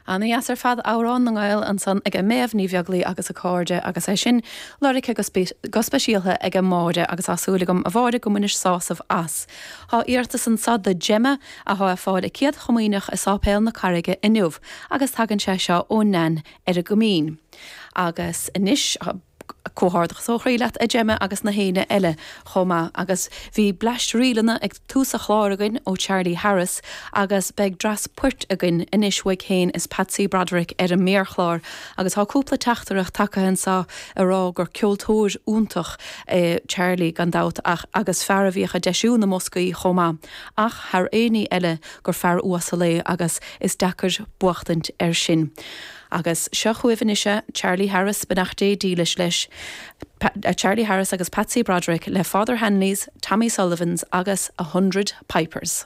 Ana-dheas ar fad Amhrán na nGael ansan ag Méabh Ní Bheaglaoi agus a cairde agus é sin lorgtha go speisialtha ag Máire agus tá súil agam a Mháire go mbainis sásamh as. Tá iarratas anso do Gemma athá ag fáil a céad chomaoineach i Sáipéal na Carraige inniu agus tagann sé seo ó Nan ar an gCoimín. Agus anois. Comhghairdeachas ó chroí leat a Gemma agus na héinne eile chomh maith. Agus bhí bleaist ríleanna ag tús an chláir againn ó Charlie Harris agus beidh dreas poirt againn anois uaidh féin is Patsy Broderick ar an méarchlár. Agus tá cúpla teachtaireacht tagtha anseo ag rá gur ceoltóir iontach é Charlie gan dabht ach agus fear a bhíodh ag deisiú na mboscaí chomh maith ach thar aon ní eile gur fear uasal é agus is deacair buachtaint air sin. Agus seo chugaibh anois é, Charlie Harris, beannacht Dé dílis leis, Charlie Harris agus Patsy Broderick le Father Hanley's, Tommy Sullivan's agus A Hundred Pipers.